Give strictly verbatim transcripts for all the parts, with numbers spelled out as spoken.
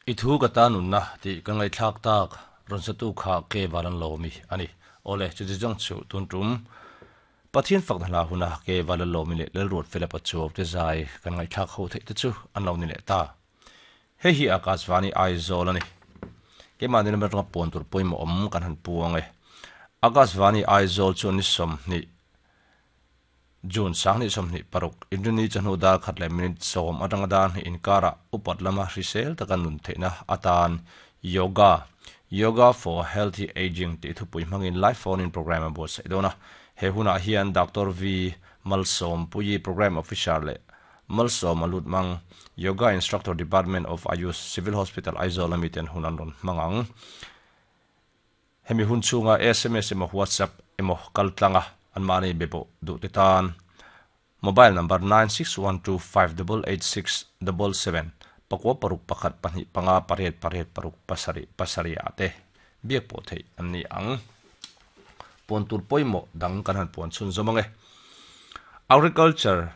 I thu ka ta nunna tih ka ngaihthlak tak rawn satu kha ke valan lomi ani. Ole chu jong chu tun tum Pathian fakna hla huna ke valan lomi le lelruat fela pachuaw te zai kan ngaihthlak ho theih te chu an lo ni leh ta. Hei hi Akashvani Aizawl ani. Keimahni lam atanga pawn tur pawimawh awm kan han puang e. Akashvani Aizawl chu ni sawmhnih June sanghnih sawmhnih paruk Inrini chawhnu dar khat leh minute sawm atanga dar hnih inkarah upat lama hrisel taka nun theihna atan Yoga Yoga for Healthy Aging tih thupui hmangin live phone in program a buatsaih dawn a. He hunah hian Doctor V Malsawmpuii Program Officer leh Malsawm a lut mang Yoga Instructor Department of Ayush Civil Hospital Aizawl ami ten hun an rawn hmang ang. Hemi hun chhunga S M S emaw WhatsApp emaw kal tlanga anmahni be pawh duh te tan mobile number nine six one two five double eight six double seven pakua paruk pakhat pahnih panga pariat pariat paruk pasarih pasarih ah te biak pawh theih an ni ang. Puan tur pawimawh dang kan han puan chhun zawm ang e. Agriculture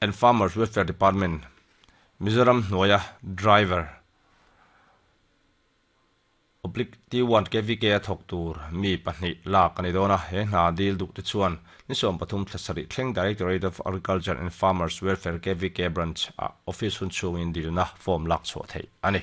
and Farmers Welfare Department Mizoram hnuaia driver oblique T one K V K a thawk tur mi pahnih lak a ni dawn a, he hna dil duh te chuan ni sawm pathum thla sarih thleng Directorate of Agriculture and Farmers Welfare K V K Branch ah office hun chhungin dilna form lak chhuah theih a ni.